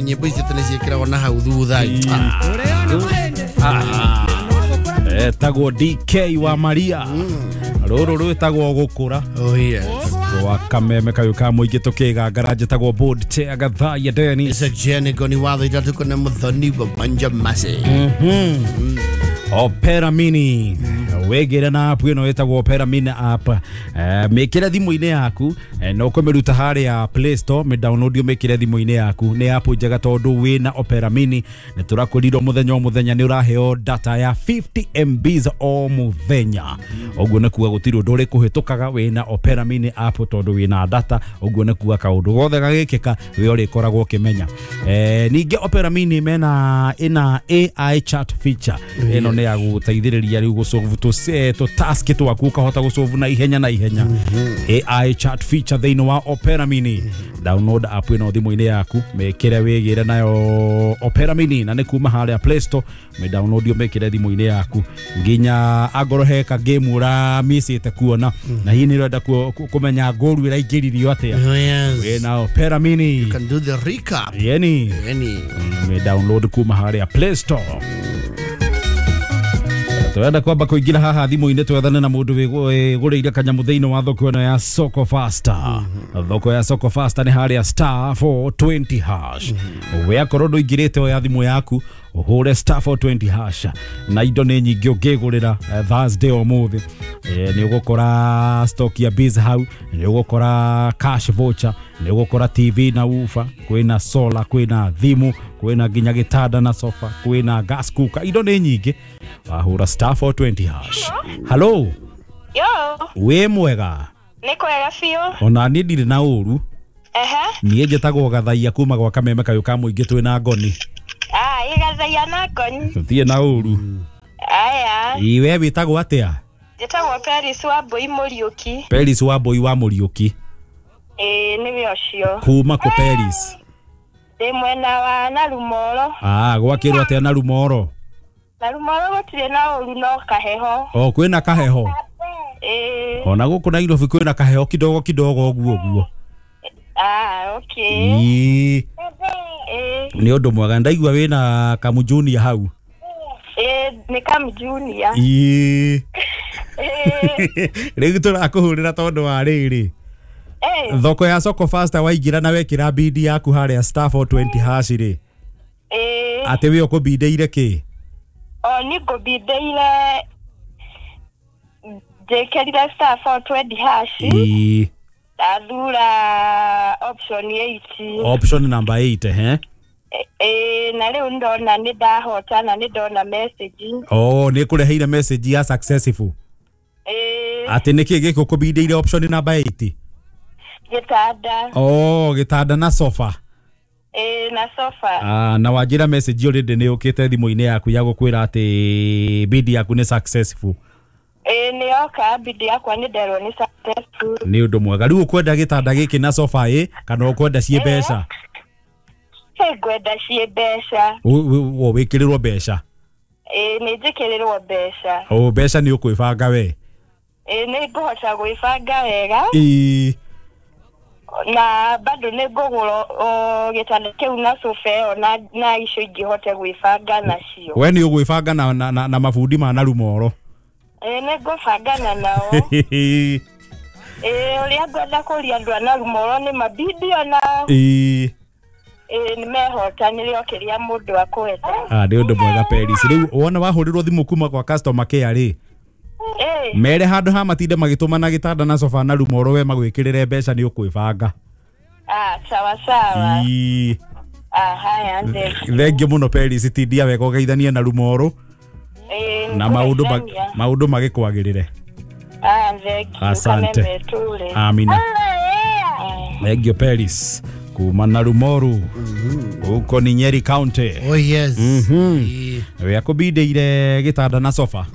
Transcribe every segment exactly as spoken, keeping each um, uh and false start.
Nyĩmbo icio tene ciĩkĩragwo na hau thutha. Etagwo D K wa Maria. Rũrũ rwĩtagwo gũkũra. Oh yes. Wa kameme kayo ka mũingĩ tũkĩgangara njĩtagwo board chair Gathaiya Dennis. Jenigo ni watho itatu kone muthoni wa Banja Mase. Mhm. Opera Mini. Wegere na app ĩno ĩtagwo Opera Mini app. Eh, mĩkĩre thimũ-inĩ yaku na ũkũmĩruta harĩa Play Store, mĩ download ũmĩkĩre thimũ-inĩ yaku. Nĩ app njega tondũ wĩna Opera Mini nĩ tũrakũrirwo mũthenya o mũthenya nĩ ũraheo data ya fifty M Bs o mũthenya. Ũguo nĩ kuga gũtirĩ ũndũ ũrĩkũhĩtũkaga wĩna Opera Mini app tondũ wĩna data. Ũguo nĩ kuga kaũndũ gothe gagĩkĩka we ũrĩkoragwo ũkĩmenya. Eh, ningĩ Opera Mini mena ĩna A I chat feature. Ĩno nĩ ya gũteithĩrĩria rĩu gũsolve tũ task twaku ukahota gũsolve na ihenya na ihenya. A I chat feature thĩinĩ wa Opera Mini. Download app ĩno thimũ-inĩ yaku, mĩkĩre wĩgĩre nayo Opera Mini na nĩ kuma harĩa Play Store, mĩ download ũmĩkĩre thimũ-inĩ yaku nginya angorwo he ka game ũramĩcĩte kuona na hihi nĩ ũrenda kũmenya ngoru ĩraingĩririo atĩa. Wĩna Opera Mini. You can do the recap. Yeni. Yeni. Mĩ download kuma harĩa Play Store. Twenda kwamba kuingira haha thimũ-inĩ twethane na mũndũ wĩgũrĩire kanyamũ thĩinĩ wa thoko ĩno ya Soko Faster. Thoko ya Soko Faster nĩ harĩa star four twenty hash. We akorwo ndũingĩrĩte oya thimũ yaku ũhũre star four twenty hash na indo nĩ nyingĩ ũngĩgũrĩra Thursday ũmũthĩ. Nĩ ũgũkora stock ya biz hau, nĩ ũgũkora cash voucher, nĩ ũgũkora T V na woofer, kwĩna solar, kwĩna thimũ, kwĩna nginya gĩtanda na sofa, kwĩna gas cooker, indo nĩ nyingĩ. Wahũra star four twenty hash. Hello. Yo. Wĩ mwega? Nĩ kwega biũ. Ona niĩ ndirĩ na ũru. Ehe. Niĩ njĩtagwo Gathaiya kuma gwa kameme kayũ ka mũingĩ twĩna ngoni. Ah, ĩ Gathaiya na ngoni. Tũtirĩ na ũru. Aya. Ĩ we wĩtagwo atĩa? Njĩtagwo Peris wa Mbui Mũriũki. Peris wa Mbui wa Mũriũki. Ĩ nĩwe ũcio. Kuma kũ Peris? Ndĩ mwena wa Narumoro. Ah, gwakĩrwo atĩa Narumoro? Narumoro gũtirĩ na ũru no kaheho. O kwĩna kaheho? Ĩ. Ona gũkũ Nairobi kwĩna kaheho kidogo kidogo ũguo ũguo. Ah, okay. Ĩ. Ĩ. Nĩ ũndũ mwega ndaigua wĩna kamujunior hau. Ĩ nĩ kamujunior. Ĩ. Rĩu tũrakũhũrĩra tondũ wa rĩrĩ. Thoko ya Soko Faster waingĩra na wekĩra bidi yaku harĩa star four twenty hash rĩ. Ĩ. Atĩ we ũkũbindĩire kĩ? O nĩ ngũbindĩire njĩkĩrire star four twenty hash. Ĩ. Ndathura option eight. Option number eight, eh? Ĩ na rĩu ndona nĩ ndahota na nĩ ndona message. Oh, nĩ kũreheire message ya successful. Ĩ. Atĩ nĩkĩ gĩkũ ũkũbindĩire option number eight? Gĩtanda. Oh, gĩtanda na sofa. Ĩ na sofa. Ah, na wanjĩra message already nĩ yũkĩte thimũ-inĩ yaku ya gũkwĩra atĩ bid yaku nĩ successful. Ĩ nĩ yoka bid yakwa nĩ nderwo nĩ successful. Nĩ ũndũ mwega. Rĩu ũkwenda gĩtanda gĩkĩ na sofa ĩ kana ũkwenda ciĩ mbeca? Ĩ ngwenda ciĩ mbeca. Wo wĩkĩrĩrwo mbeca? Ĩ nĩ njĩkĩrĩrwo mbeca. O mbeca nĩ ũkwĩbanga we? Ĩ nĩ ngũhota gwĩbanga wega. Ĩ. Na bado nĩ ngũgũra gĩtanda kĩu na sofa ĩyo na na icio ingĩ hote gwĩbanga nacio. We nĩ ũgwĩbanga na na, na mabundi ma Narumoro? Ĩ nĩ ngũbangana nao. Ĩ ũrĩa ngwenda kũria andũ a Narumoro nĩ mabidi onao. Ĩ. Ĩ nĩ mehotanĩre o kĩrĩa mũndũ akwenda. Ah, nĩ ũndũ mwega Peris. Rĩu wona wahũrĩrwo thimũ kuma kwa customer care rĩ, mere handũ ha matinde magĩtũmana gĩtanda na sofa na Narumoro we magwĩkĩrĩre mbeca nĩ ũkwĩbanga. Ah, sawa sawa. Ĩ. Ah, haya thengio mũno Peris, tindia wega ũgeithanie na Narumoro. Ĩ na maũndũ maũndũ magĩkwagĩrĩre. Ah, thengio. Asante. Amina. Thengio Peris kuma Narumoro huko ni Nyeri County. Oh yes. Mhm. We akũbindĩire gĩtanda na sofa.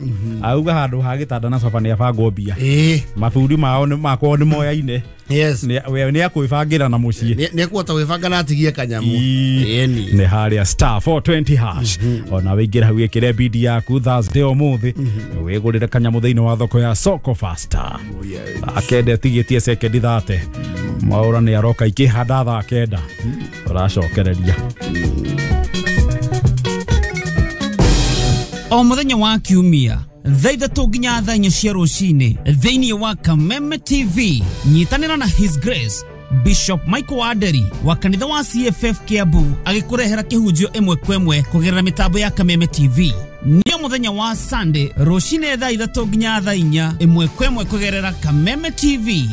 Auga handũ ha gĩtanda na sofa nĩ abangwo mbia. Ĩ. Mabundi mao nĩ makorwo nĩ moyaine. Yes. We nĩ akwĩbangĩra na mũciĩ. Nĩ ekũhota gwĩbanga na atigie kanyamũ. Ĩni. Nĩ harĩa star four twenty hash. Ona wĩingĩre hau wĩkĩre bidi yaku Thursday ũmũthĩ. Wĩgũrĩre kanyamũ thĩinĩ wa thoko ya Soko Faster. Akende atigĩtie sekendi thate. Mwaura nĩ aroka ikĩhanda thaa kenda tũracokereria. O mũthenya wa kiumia thaa ithatũ nginya thaa inya cia rũcinĩ thĩinĩ wa Kameme T V, nyitanĩra na His Grace Bishop Michael Waderi wa kanitha wa C F F Kiambu agĩkũrehera kĩhunjio ĩmwe kwa ĩmwe kũgerera mĩtambo ya Kameme T V. Nĩ mũthenya wa Sunday rũcinĩ thaa ithatũ nginya thaa inya ĩmwe kwa ĩmwe kũgerera Kameme T V.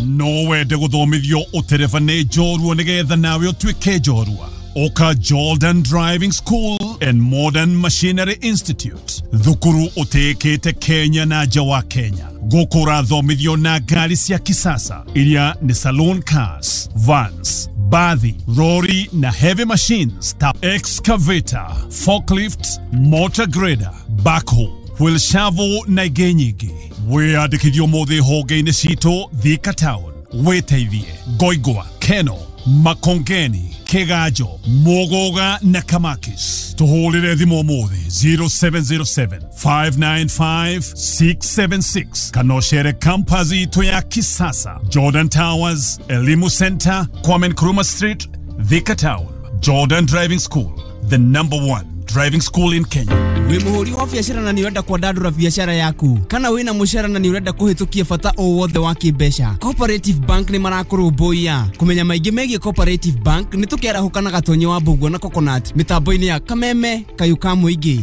No wende gũthomithio ũtereba nĩ njorua nĩgetha nawe ũtuĩke njorua. Oka Jordan Driving School and Modern Machinery Institute. Thukuru utekete Kenya na nja wa Kenya. Gũkũ ũrathomithio na ngari cia kisasa iria ni saloon cars, vans, bathi, lorry na heavy machines ta excavator, forklift, motor grader, backhoe, wheel shovel na ingĩ nyingĩ. Wĩyandĩkithio ũmũthĩ honge-inĩ citũ Thika Town, Wĩteithie, Ngoingwa, Keno, Makongeni, Kigajo, Mugoga na Kamakis. Tuhũrĩre thimũ ũmũthĩ zero seven zero seven, five nine five, six seven six kana ũcere campus itũ ya kisasa, Jordan Towers, Elimu Center, Kwame Nkrumah Street, Thika Town. Jordan Driving School, the number one driving school in Kenya. Wĩ mũhũri wa biacara na nĩ ũrenda kwandandũra biacara yaku, kana wĩna mũcara na nĩ ũrenda kũhĩtũkia bata o wothe wa kĩmbeca, Cooperative Bank nĩ marakũrũmbũiya. Kũmenya maingĩ megiĩ Cooperative Bank nĩ tũkĩarahũka na Gatonyi wa Mbũguo na Coconut mĩtambo-inĩ ya Kameme Kayũ ka Mũingĩ.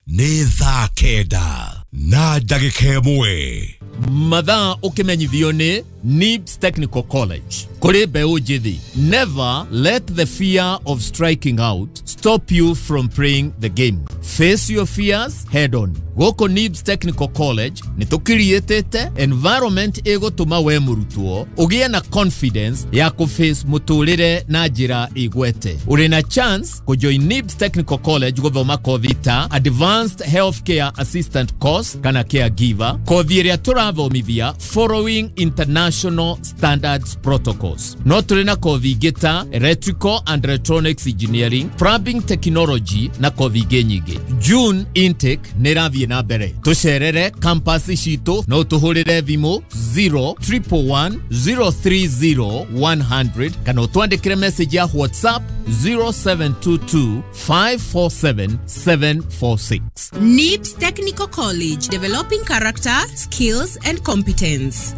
Nĩ thaa kenda na ndagĩka ĩmwe. Mathaa ũkĩmenyithio nĩ Nibs Technical College. Kũrĩ mbeũ njĩthĩ, never let the fear of striking out stop you from playing the game. Face your fears head on. Gũkũ Nibs Technical College nĩ tũkiriĩtĩte environment ĩgũtũma we mũrutwo ũgĩe na confidence ya kũface mũtũrĩre na njĩra ĩgwete. Ũrĩ na chance kũjoin Nibs Technical College gũthoma kothi ta Advanced Healthcare Assistant Course kana Caregiver, kothi ĩrĩa tũrathomithia following international standards protocols. No tũrĩ na kothi ingĩ ta Electrical and Electronics Engineering, Plumbing Technology na kothi ingĩ nyingĩ. June intake nĩ ĩrathiĩ na mbere. Tũcerere campus citũ no tũhũrĩre thimũ zero triple one zero three zero one hundred kana ũtwandĩkĩre message ya WhatsApp zero seven two two five four seven seven four six. Nibs Technical College, developing character, skills and competence.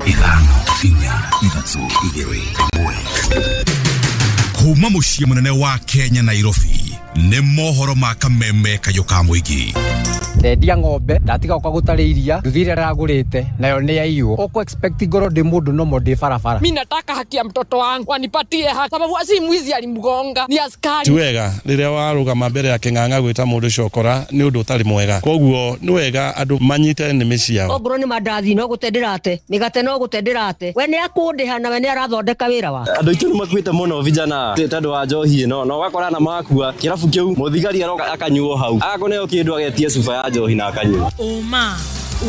Ithano, inya, ithatũ, igĩrĩ, ĩmwe. Kuma mũciĩ mũnene wa Kenya Nairobi nĩ mohoro ma Kameme Kayũ ka Mũingĩ. Ndendia ng'ombe ndatiga gũka gũtarĩ iria nduthi ĩrĩa ndĩragũrĩte nayo nĩ yaiywo. Ũkũ expect ngorwo ndĩ mũndũ nomo ndĩ barabara. Mimi nataka haki ya mtoto wangu wanipatie haki, sababu si mwizi alimgonga ni askari. Ti wega rĩrĩa warũgama mbere ya kĩng'ang'a gwĩta mũndũ cokora nĩ ũndũ ũtarĩ mwega, koguo nĩ wega andũ manyite nĩmĩ ciao. Ongorwo nĩ mandathi no gũte ndĩrate, mĩgate no gũte ndĩrate, we nĩ akũndĩha na we nĩ arathondeka wĩra wake. Andũ aitũ nĩ makuĩte mũno vijana tondũ wa njohi ĩno, na ũgakora na makua kĩrabu kĩu mũthigari aroka akanyuo hau agakũneo kĩndũ agetia cuba ya njohi na akanyua. Ũma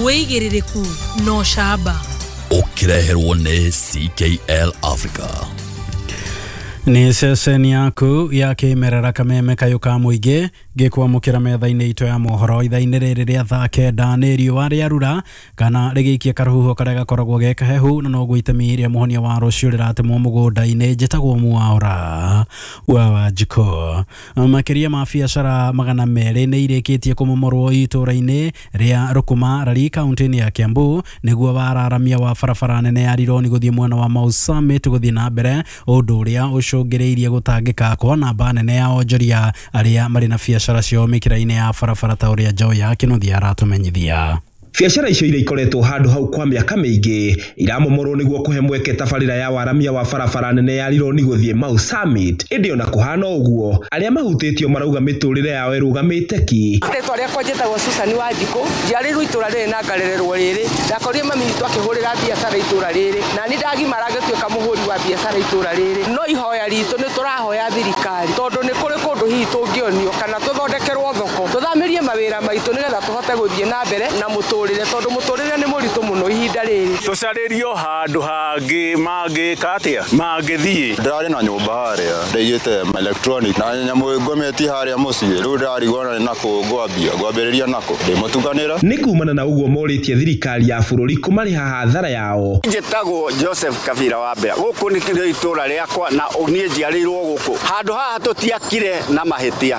wĩigĩrĩrĩku no camba ũkĩreherwo nĩ C K L Africa. Nĩ ceceni yaku ya kĩmerera Kameme Kayũ ka Mũingĩ ngĩkwamũkĩra metha-inĩ itũ ya mohoro ithaa-inĩ rĩrĩ rĩa thaa kenda. Nĩ riũa rĩarura kana rĩgĩikia karũhuho karĩa gakoragwo ge kahehu, na noguo itemi rĩa mũhonia wa rũciũ rĩratemwo mũgũnda-inĩ. Njĩtagwo Mwaura wa Wanjikũ. Makĩria ma biacara magana merĩ nĩ irĩkĩtie kũmomorwo itũũra-inĩ rĩa Rũkũma Rari kaunti-inĩ ya Kiambu nĩguo wararamia wa barabara nene ya Rironi gũthiĩ mwena wa Mau Summit gũthiĩ na mbere, ũndũ ũrĩa ũcũngĩrĩirie gũtangĩka kwa namba nene ya onjoria arĩa marĩ na biacara ciao mĩkĩra-inĩ ya barabara ta ũrĩa Njoya Kĩnuthia aratũmenyithia. Biacara icio iria ikoretwo handũ hau kwa mĩaka mĩingĩ iramomorwo nĩguo kũhe mweke tabarĩra ya waramia wa barabara nene ya Rironi gũthiĩ Mau Summit. Ĩndĩ ona kũhana ũguo, arĩa mahutĩtio marauga mĩtũrĩre yao ĩrũgamĩte ki. Rĩtwa rĩakwa njĩtagwo Susan Wanjikũ, njiarĩirwo itũra rĩrĩ na ngarererwo rĩrĩ. Ndakorire mami witũ akĩhũrĩra biacara itũra rĩrĩ, na niĩ ndagimara ngĩtuĩka mũhũri wa biacara itũra rĩrĩ. No ihoya ritũ nĩ tũrahoya thirikari, tondũ nĩ kũrĩ kũndũ hihi tũngĩonio kana tũthondekerwo thoko, tũthamĩrie mawĩra maitũ nĩgetha tũhote gũthiĩ na mbere na mũtũrĩre, tondũ mũtũrĩre nĩ mũritũ mũno ihinda ihinda rĩrĩ. Tũcarĩrio handũ hangĩ mangĩka atĩa mangĩthiĩ. Ndĩrarĩ na nyũmba harĩa ndaigĩte electronic na nyamũ ngometie harĩa mũciĩ, rĩu ndĩrarigwo na nakũ ngwambia ngwambĩrĩria nakũ ndĩmũtukanĩra. Nĩ kumana na ũguo morĩtie thirikari ya bũrũri kũmarĩha hathara yao. Njĩtagwo Joseph Kabira wa Mbea, gũkũ nĩ itũra rĩakwa na niĩ njiarĩirwo gũkũ. Handũ haha tũtiakire na mahĩtia,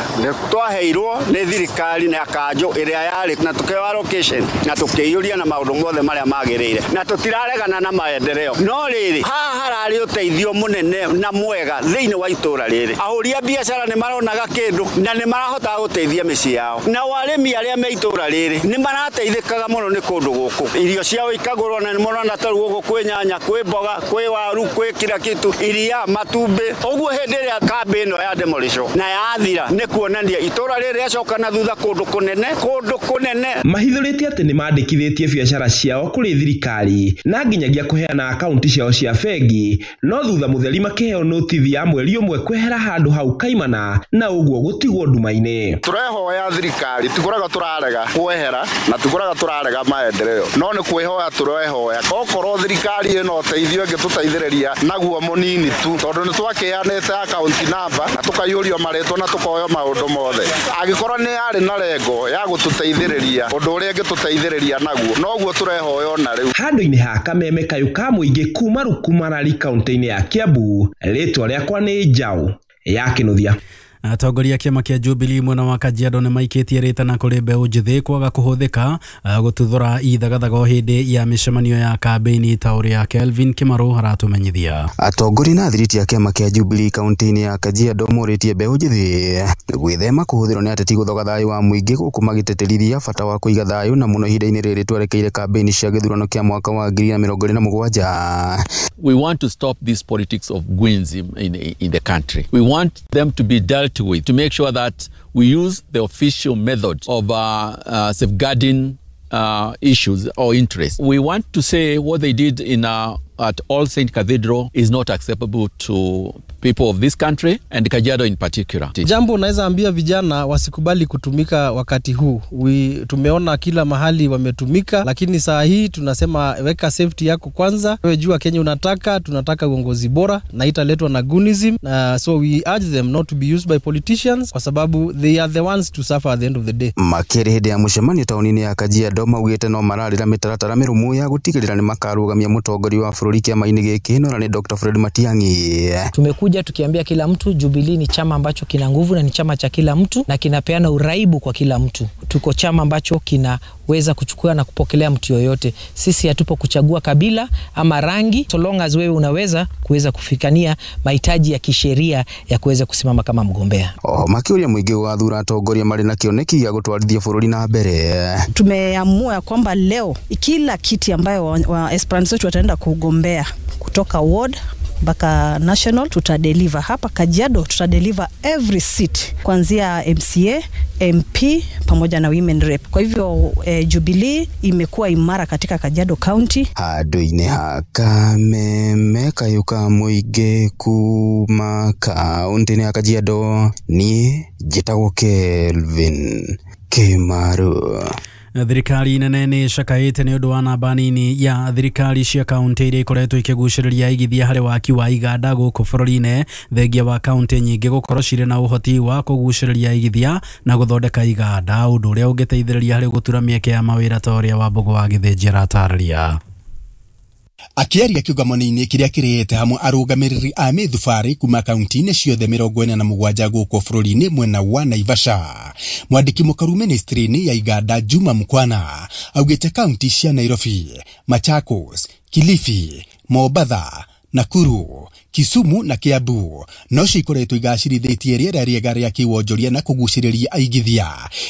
twaheirwo nĩ thirikari na kanjũ ĩrĩa yarĩ na tũkĩheo allocation na tũkĩiyũria na maũndũ mothe marĩa magĩrĩire na tũtiraregana na maendeleo, no rĩrĩ haha hararĩ ũteithio mũnene na mwega thĩinĩ wa itũra rĩrĩ. Ahũri a biacara nĩ maronaga kĩndũ na nĩ marahotaga gũteithia mĩciĩ yao, nao arĩmi arĩa me itũra rĩrĩ nĩ marateithĩkaga mũno nĩ kũndũ gũkũ. Irio ciao ikagũrwo na nĩ mũrona ta rĩu gũkũ kwĩ nyanya, kwĩ mboga, kwĩ waru, kwĩ kila kitu, iria, matumbĩ. Ũguo hĩndĩ ĩrĩa kambĩ ĩno ya demolition na yathira nĩ kuonania itũra rĩrĩ rĩacoka na thutha kũndũ kũnene, kũndũ kũnene. Mahithũrĩtie atĩ nĩ mandĩkithĩtie biacara ciao kũrĩ thirikari na nginyagia kũheana akaunti ciao cia bengi, no thutha mũtheri makĩheo notithi ya mweri ũmwe kwehera handũ hau kaimana na ũguo gũtigwo nduma-inĩ. Tũrehoya thirikari, tikũraga tũrarega kwehera na tikũraga tũrarega maendeleo, no nĩ kwĩhoya tũrehoya okorwo thirikari ĩno ũteithio ĩngĩtũteithĩrĩria naguo mũnini tu, tondũ nĩ twakĩheanĩte akaunti namba na tũkaiyũrio marĩtwa na tũkoyo maũndũ mothe. Angĩkorwo nĩ yarĩ na lengo ya gũtũteithĩrĩria ũndũ ũrĩa ĩngĩtũteithĩrĩria naguo, noguo tũrehoya ona rĩu. Handũ-inĩ ha Kameme kayũ ka mũingĩ kuma Rukumarari kaunti-inĩ ya Kiambu, rĩtwa rĩakwa nĩ Njaũ ya Kĩnuthia. Atongoria a kĩama kĩa Jubilee mwena wa Kajiado nĩ maikĩtie rĩtana kũrĩ mbeũ njĩthĩ kwaga kũhũthĩka gũtuthũra ithagathaga o hĩndĩ ya mĩcemanio ya kambĩini ta ũrĩa Kelvin Kĩmarũ aratũmenyithia. Atongoria na athiriti a kĩama kĩa Jubilee kaunti-inĩ ya Kajiado morĩtie mbeũ njĩthĩ gwĩthema kũhũthĩrwo nĩ ateti gũthoga thayũ wa mũingĩ gũkũ magĩtĩtĩrithia bata wa kũiga thayũ na mũno ihinda-inĩ rĩrĩ twerekeire kambĩini cia gĩthurano kĩa mwaka wa ngiri na mĩrongo ĩrĩ na mũgwanja. We want to stop this politics of goons in, in the country. We want them to be dealt with to make sure that we use the official method of uh, uh, safeguarding uh, issues or interests. We want to say what they did in uh, at All Saint Cathedral is not acceptable to people of this country and Kajiado in particular. Jambo naweza ambia vijana wasikubali kutumika wakati huu. We, tumeona kila mahali wametumika, lakini saa hii tunasema weka safety yako kwanza. Wewe jua Kenya unataka, tunataka uongozi bora na italetwa na Gunism. Uh, so we urge them not to be used by politicians kwa sababu they are the ones to suffer at the end of the day. Makĩria hĩndĩ ya mũcemanio taũni-inĩ ya Kajiado maugĩte no mararĩra mĩtaratara mĩrũmu ya gũtigĩrĩra nĩ makarũgamia mũtongoria wa bũrũri kĩama-inĩ gĩkĩ nora nĩ Doctor Fred Matiang'i. Tumekuja tukiambia kila mtu Jubilee ni chama ambacho kina nguvu na ni chama cha kila mtu na kinapeana uraibu kwa kila mtu. Tuko chama ambacho kinaweza kuchukua na kupokelea mtu yoyote. Sisi hatupo kuchagua kabila ama rangi, so long as wewe unaweza kuweza kufikania mahitaji ya kisheria ya kuweza kusimama kama mgombea. Oho makĩũria mũingĩ gũgathura atongoria marĩ na kĩoneki gĩa gũtwarithia bũrũri na mbere. Tumeamua kwamba leo kila kiti ambayo wa, wa aspirants wetu wataenda kugombea kutoka ward mpaka national tutadeliver. Hapa Kajiado tutadeliver every seat kuanzia M C A, M P pamoja na women rep. Kwa hivyo eh, Jubilee imekuwa imara katika Kajiado County. Handũ-inĩ ha Kameme kayũ ka mũingĩ kuma kaunti-inĩ ya Kajiado, niĩ njĩtagwo Kelvin Kĩmarũ. Thirikari nene nĩ ĩcakaĩte nĩ ũndũ wa namba nini ya thirikari cia kaunti iria ikoretwo ikĩgucĩrĩria aigithia harĩ waki wa iganda gũkũ bũrũri-inĩ, thengia wa kaunti nyingĩ gũkorwo cirĩ na ũhoti wa kũgucĩrĩria aigithia na gũthondeka iganda, ũndũ ũrĩa ũngĩteithĩrĩria harĩ gũtura mĩeke ya mawĩra ta ũrĩa Wambũgũ wa Gĩthĩnji aratarĩria. Akĩaria kĩũngano-inĩ kĩrĩa kĩrĩte hamwe arũgamĩrĩri a mĩthubarĩ kuma kaunti-inĩ ciothe mĩrongo ĩna na mũgwanja gũkũ bũrũri-inĩ mwena wa Naivasha, mwandĩki mũkaru ministry-inĩ ya iganda Juma Mukwana augĩte kaunti cia Nairobi, Machakos, Kilifi, Mombatha, Nakuru, Kisumu na Kiambu no cikoretwo igacirithĩtie rĩera rĩega rĩa kĩwonjoria na kũgucĩrĩria aigithia,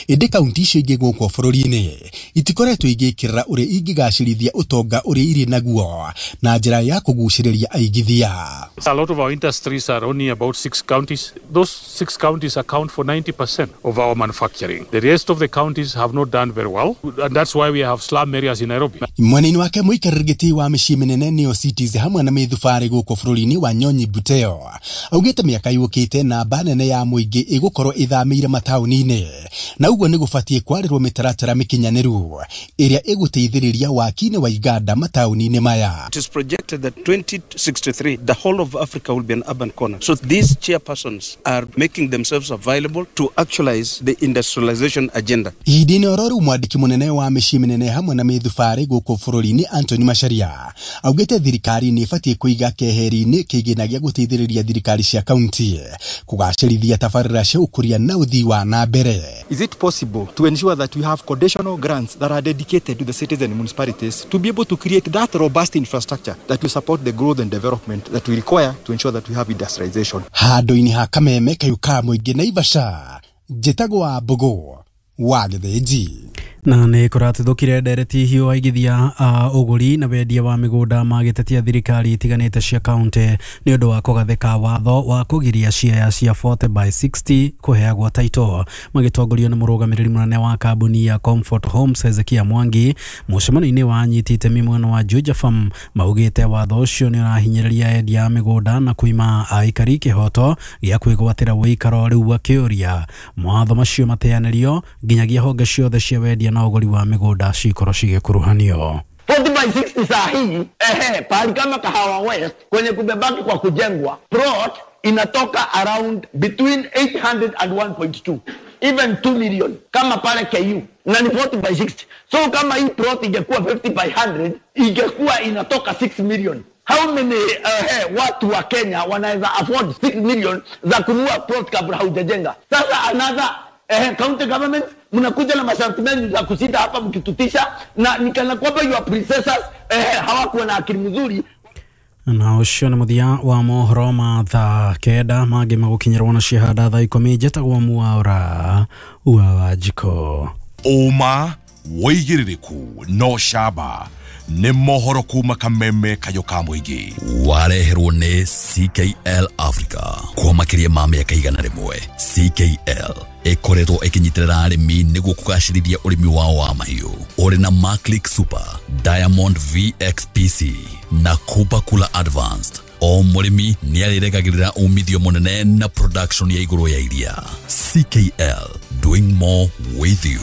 ĩndĩ kaunti icio ingĩ gũkũ bũrũri-inĩ itikoretwo igĩkĩrĩra ũrĩa ingĩgacĩrithia ũtonga ũrĩa irĩ naguo na njĩra ya kũgucĩrĩria aigithia. A lot of our industries are only about six counties. Those six counties account for ninety percent of our manufacturing. The rest of the counties have not done very well, and that's why we have slum areas in Nairobi. Mwena-inĩ wake mũikarĩri gĩtĩ wa mĩciĩ mĩnene nĩyo cities hamwe na mĩthubarĩ mĩthubarĩ gũkũ bũrũri-inĩ wa Nyonyi Buteo augĩte mĩaka yũkĩte namba nene ya mũingĩ ĩgũkorwo ĩthamĩire mataũni-inĩ na ũguo nĩ gũbatiĩ kwarĩrwo mĩtaratara mĩkinyanĩru ĩrĩa ĩgũteithĩrĩria waki-inĩ wa iganda mataũni-inĩ maya. It is projected that twenty sixty-three the whole of Africa will be an urban corner. So these chairpersons are making themselves available to actualize the industrialization agenda. Ihinda-inĩ oro rĩu mwandĩki mũnene wa mĩciĩ mĩnene hamwe na mĩthubarĩ gũkũ bũrũri-inĩ Anthony Macharia augĩte thirikari nĩ ĩbatiĩ kũiga keheri-inĩ kĩgĩna gĩa gũteithĩrĩria thirikari cia kaunti kũgacĩrithia tabarĩra cia ũkũria na ũthii wa na mbere. Is it possible to ensure that we have conditional grants that are dedicated to the cities and municipalities to be able to create that robust infrastructure that will support the growth and development that we require to ensure that we have industrialization? Handũ-inĩ ha Kameme kayũ ka mũingĩ Naivasha, njĩtagwo wa Mbũgũ wa Gĩthĩnji. Na nä kå ratithå ndereti hiå aigithia a ũgũri na wendia wa mĩgũnda magĩtetia thirikari itiganĩte cia kaunti nĩ ũndũ wa kũgathĩka watho wa kũgiria ciea cia forty by sixty kũheagwo title. Magĩtongorio nĩ mũrũgamĩrĩri mũnene wa kambuni ya Comfort Homes Hezekia Mwangi mũcemanio-inĩ wa anyiti itemi mwena wa Juja Farm maugĩte watho ũcio nĩ ũrahinyĩrĩria endia a mĩgũnda na kũima aikari kĩhoto gĩa kwĩgwatĩra ũikaro. Rĩu akĩũria mawatho macio mateanĩrio nginyagia honge ciothe cia wendia na ũgũri wa mĩgũnda cikorwo cigĩkuruhanio. forty by sixty saa hii ehe, pahali kama Kahawa West kwenye kumebaki kwa kujengwa plot inatoka around between eight hundred and one point two even two million kama pale K U na ni forty by sixty. So kama hii plot ingekuwa fifty by hundred ingekuwa inatoka six million. How many uh, hey, watu wa Kenya wanaweza afford six million za kununua plot kabla haujajenga? Sasa another eh, county government mnakuja na masharti mengi za kushinda hapa mkitutisha, na nikana kwamba your predecessors eh, hawakuwa na akili mzuri. Na ũcio nĩ mũthia wa mohoro ma thaa kenda mangĩ magũkinyĩrwo na ciahanda thaa ikũmi. Njĩtagwo Mwaura wa Wanjikũ. Ũma wĩigĩrĩrĩku no camba nĩ mohoro kuma Kameme kayũ ka mũingĩ wareherwo nĩ C K L Africa kwa makĩria ma mĩaka igana rĩmwe. C K L ĩkoretwo ĩkĩnyitĩrĩra arĩmi nĩguo kũgacĩrithia ũrĩmi wao wa mahiũ ũrĩ na Maclick Super, Diamond V X P C na Kupa Kula Advanced. O mũrĩmi nĩarĩrekagĩrĩra umithio mũnene na production ya igũrũ ya iria. C K L, doing more with you.